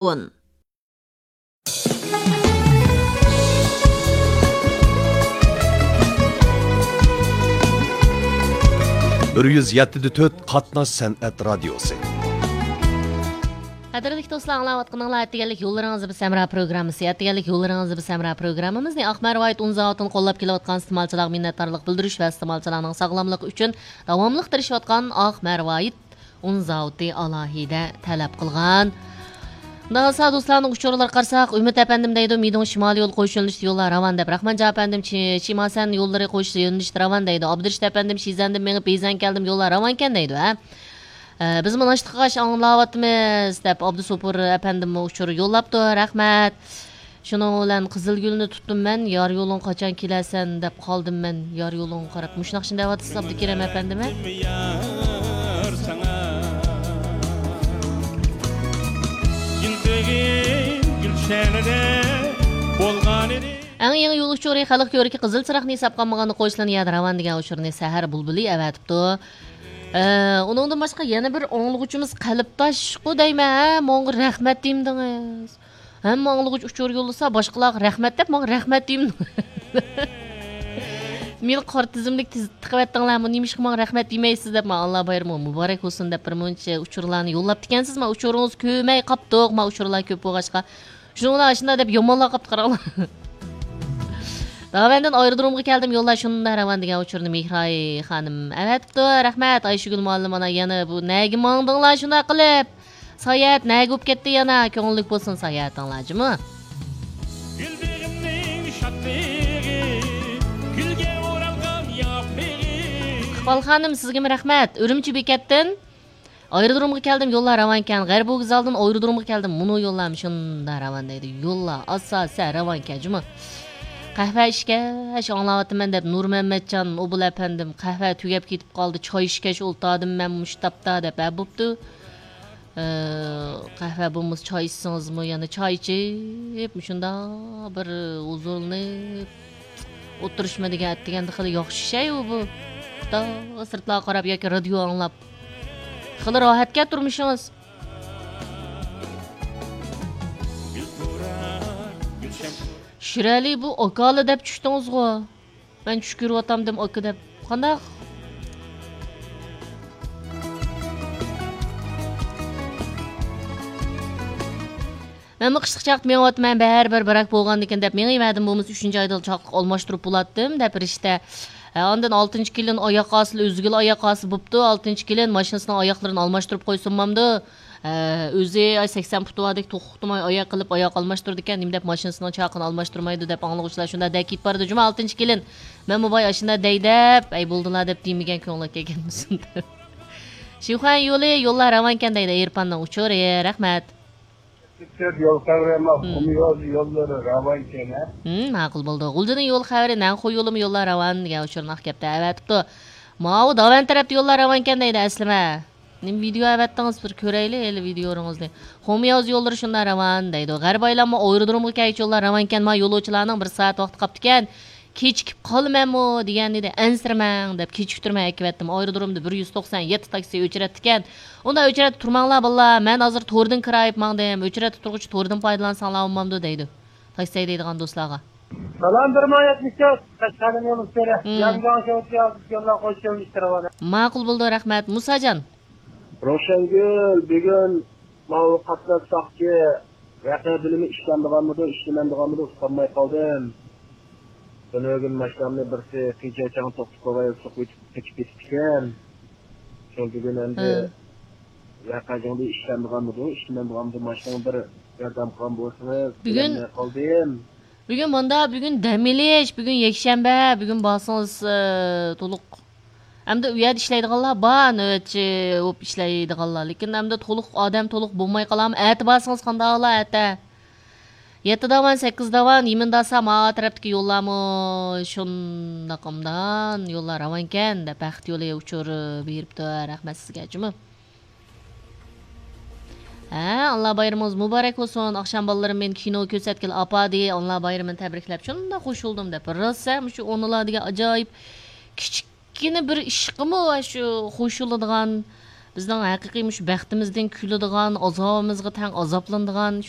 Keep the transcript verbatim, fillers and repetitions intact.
بىر يۈز يەتتە دە تۆت قاتناش سەنئەت رادىيوسى. قەدىرلىك دوستلار، ئاڭلاۋاتقىنىڭلار ئەتىگەنلىك يوللىرىڭىزدا بىز ھەمراھ پروگراممىسى. ئەتىگەنلىك يوللىرىڭىزدا بىز ھەمراھ پروگراممىمىزنى ئاق مەرۋايىت ئۇن زاۋۇتىنى قوللاپ كېلىۋاتقان ئىستېمالچىلارغا مىننەتدارلىق بىلدۈرۈش ۋە ئىستېمالچىلارنىڭ ساغلاملىقى ئۈچۈن داۋاملىق تىرىشىۋاتقان ئاق مەرۋايىت ئۇن زاۋۇتى ئالاھىدە تەلەپ قىلغان. ئۇنداق بولسا دوستلارنىڭ ئۇچۇرلىرىغا قارىساق، ئۈمىد ئەپەندىم دەيدۇ، مىدۇڭ شىمالىي يول قويۇش يۆنىلىشىدە يوللار راۋان دەپ. رەھمەتجان ئەپەندىم، چى-، چىماسەن يوللىرى قويۇش يۆنىلىشىدە راۋان دەيدۇ. ئابدۇرېشىت ئەپەندىم، شىزەندىن مېڭىپ بېيزەن كەلدىم، يوللار راۋانكەن دەيدۇ، ھە. ئە، بىز مۇناشتىقىغاچ ئاڭلاۋاتىمىز دەپ ئابدۇسوپۇر ئەپەندىممۇ ئۇچۇر يوللاپتۇ، رەھمەت. شۇنىڭ بىلەن قىزىلگۈلنى تۇتتۇم مەن، يار يولۇڭ قاچان كېلەرسەن دەپ قالدىم مەن، يار يولۇڭغا قاراپ. مۇشۇ ناخشىنى دەۋاتىسىز، ئابدۇكېرىم ئەپەندىمۇ؟ يار ساڭا ئىنتىگىن گۈلشەنىدە بولغانىدى. ئەڭ يېڭى يول ئۇچۇرى خەلق كۆركى قىزىل چىراغنى ھېسابقا ئالمىغاندا قويسىلىنى يەردە راۋان دېگەن ئۇچۇرنى سەھەر بۇلبۇلى ئەۋەتىپتۇ. ئە، ئۇنىڭدىن باشقا يەنە بىر ئاڭلىغۇچىمىز قەلبداشقۇ دەيمەن، ھە، ماڭا رەھمەت دېمىدىڭىز. ھەممە ئاڭلىغۇچ ئۇچۇر يوللىسا، باشقىلارغا رەھمەت دەپ، ماڭا رەھمەت دېمىدىڭىز. مېنى قارا تىزىملىك تىز-، تىقىۋەتتىڭلارمۇ، نېمىشقا ماڭا رەھمەت دېمەيسىز دەپ، مانا ئاللا بايرىمىغا مۇبارەك بولسۇن دەپ بىر مۇنچە ئۇچۇرلارنى يوللاپتىكەنسىز. مانا ئۇچۇرىڭىزنى كۆرمەي قاپتۇق، مانا ئۇچۇرلار كۆپ بولغاچقا. شۇنىڭ بىلەن ئاشۇنداق دەپ يامانلاپ قاپتۇ قاراڭلار. داۋەندىن ئايرودرومغا كەلدىم، يوللار شۇنداق راۋان دېگەن ئۇچۇرنى مېھراي خانىم ئەۋەتىپتۇ. رەھمەت، ئايشۇگۈل مۇئەللىم، ئانا يەنە بۇ نەگە ماڭدىڭلار شۇنداق قىلىپ؟ ساياھەت نەگە بولۇپ كەتتى يەنە؟ كۆڭۈللۈك بولسۇن ساياھىتىڭلار جۇمۇ. گۈل بېغىمنىڭ شادلىقى، گۈلگە ئورالغان ياپرىقى. ئىقبال خانىم، سىزگىمۇ رەھمەت. ئۈرۈمچى بېكەتتىن ئايرودرومغا كەلدىم، يوللار راۋانكەن. غەربىي ۋوگزالدىن ئايرودرومغا كەلدىم، مۇنۇ يوللارمۇ شۇنداق راۋان دەيدۇ. يوللار ئاساسەن راۋانكەن جۇمۇ. قەھۋە ئىچكەچ ئاڭلاۋاتىمەن دەپ نۇرمەمەتجان ئوبۇل ئەپەندىم، قەھۋە تۈگەپ كېتىپ قالدى، چاي ئىچكەچ ئولتۇردۇم مەن مۇشۇ تاپتا دەپ، ھە، بوپتۇ. ئە، قەھۋە بولمىسا چاي ئىچسىڭىزمۇ، يەنە چاي ئىچىپ، مۇشۇنداق بىر ھۇزۇرلىنىپ ئولتۇرۇشمۇ دېگەن، ئەتىگەندە خېلى ياخشى شەي ئۇ بۇ. تا سىرتلارغا قاراپ ياكى رادىيو ئاڭلاپ، خېلى راھەتكەن تۇرمۇشىڭىز. شىرئەلى، بۇ ئاكالە دەپ چۈشتىڭىزغۇ؟ مەن چۈش كۆرۈۋاتامدىم ئاكا دەپ. قانداق؟ مەنمۇ قىشلىق چاغدا مېڭىۋاتىمەن، بەرىبىر بىراك بولغاندىكىن دەپ مېڭىۋەردىم، بولمىسا ئۈچىنچى ئايدا چاقلىق ئالماشتۇرۇپ بولاتتىم دەپ رىشتە. ھە، ئاندىن ئالتىنچى كېلىن ئاياق ئاستىلا ئۆزگىلا ئاياق ئاستى بوپتۇ، ئالتىنچى كېلىن ماشىنىسىنىڭ ئاياقلىرىنى ئالماشتۇرۇپ قويسۇن بامدۇ؟ ھە، ئۆزى ئاي سەكسەن پۇتى باردەك توخۇ توختىماي ئاياق قىلىپ، ئاياق ئالماشتۇرىدىكەن، نېمە دەپ ماشىنىسىنىڭ چاقىنى ئالماشتۇرمايدۇ دەپ ئاڭلىغۇچىلار شۇنداق دەكىتىپ بارىدۇ جۇمۇ، ئالتىنچى كېلىن. مەنمۇ باي ئاشۇنداق دەي دەپ، ئەي بولدىلا دەپ دېمىگەن، كۆڭلىگە كەلگەنمىسۇن دەپ. شىخۇەن يولى، يوللار راۋانكەن دەيدۇ، ئېرپاننىڭ ئۇچۇرى. رەھمەت. يول خەۋىرى ئەمەس، مم. قۇم يول، يوللىرى راۋانكەن، ھە؟ ھىم، ماقۇل بولدى. غۇلجىنىڭ يول خەۋىرى، نەنخۇ يولىمۇ يوللار راۋان دېگەن ئۇچۇرنى ئەكەپتۇ، ئەۋەتىپتۇ. ماۋۇ داۋەن تەرەپتە يوللار راۋانكەن دەيدۇ، ئەسلىمە. نېمە ۋىدېئو ئەۋەتتىڭىز؟ بىر كۆرەيلى ھېلى ۋىدېئولىرىڭىزنى. خۇمياۋز يوللىرى شۇنداق راۋان دەيدۇ. غەربىي ئايلانما ئايرودرومغا كەلگۈچە يوللار راۋانكەن، ما يولۇچىلارنىڭ بىر سائەت ۋاقتى قاپتىكەن. كېچىكىپ قالىمەنمۇ دېگەن ئىدى. ئەنسىرىمەڭ دەپ كېچىكتۈرمەي ئەكىۋەتتىم. ئايرودرومدا بىر يۈز توقسان يەتتە تاكسى ئۆچرەتتىكەن. ئۇنداق ئۆچرەتتە تۇرماڭلار بالىلار، مەن ھازىر توردىن كىرايىپ ماڭدىم. ئۆچرەتتە تۇرغۇچە توردىن پايدىلانساڭلار بولمامدۇ دەيدۇ. تاكسى ھەيدەيدىغان دوستلارغا. سالام، بىر مىڭ يەتمىش تۆت، قەشقەرنىڭ يولى ئۈستىدە. مم. ياڭگاڭ شوۋچياۋ يوللار قويۇش يۆنىلىشتە راۋان. ماقۇل بولدى، رەھمەت. مۇساجان. روشەنگۈل، بۈگۈن ماۋۇ قاتناش ساقچى ۋەقە بۆلۈمى ئىشلەمدىغانمىدۇ، ئىشلىمەمدىغانمىدۇ، ئۇقالماي قالدىم. تۈنۈگۈن ماشىنامنى بىرسى قىيچايچاڭ توختىتىپ قويۇپ سوقۇۋېتىپ كېتىپتىكەن. شۇ بۈگۈن ئەمدى ھە. ۋەقە جۇڭدى ئىشلەمدىغانمىدۇ، ئىشلىمەمدىغانمىدۇ، ماشىنىڭ بىر ياردەم قىلغان بولسىڭىز، بۈگۈن بىلەلمەي قالدىم. بۈگۈن ماندا، بۈگۈن دەم ئېلىش، بۈگۈن يەكشەنبە، بۈگۈن بارسىڭىز، ئى، تولۇق. ئەمدى ئۇ يەردە ئىشلەيدىغانلار بار، نۆۋەتچى بولۇپ ئىشلەيدىغانلار. لېكىن ئەمدى تولۇق ئادەم تولۇق بولماي قالامۇ؟ ئەتە بارسىڭىز قانداقلا، ئەتە. يەتتە داۋان، سەككىز داۋان، يېمىنداسا ما تەرەپتىكى يوللارمۇ شۇنداق ئوبدان يوللار راۋانكەن دەپ بەخت يولى ئۇچۇر بېرىپتۇ. رەھمەت سىزگە جۇمۇ. ھە، ئاللا بايرىمىڭىز مۇبارەك بولسۇن. ئاخشام بالىلىرىم مېنى كىنو كۆرسەتكىلى ئاپاردى، ئاللا بايرىمىنى تەبرىكلەپ شۇنداق خوش بولدۇم دەپ. راسا مۇشۇ ئونىلار دېگەن ئاجايىپ كىچىككىنە بىر ئىشقىمۇ شۇ خوش بولىدىغان، بىزنىڭ ھەقىقىي مۇشۇ بەختىمىزدىن كۈلىدىغان، ئازابىمىزغا تەڭ ئازابلىنىدىغان، شۇ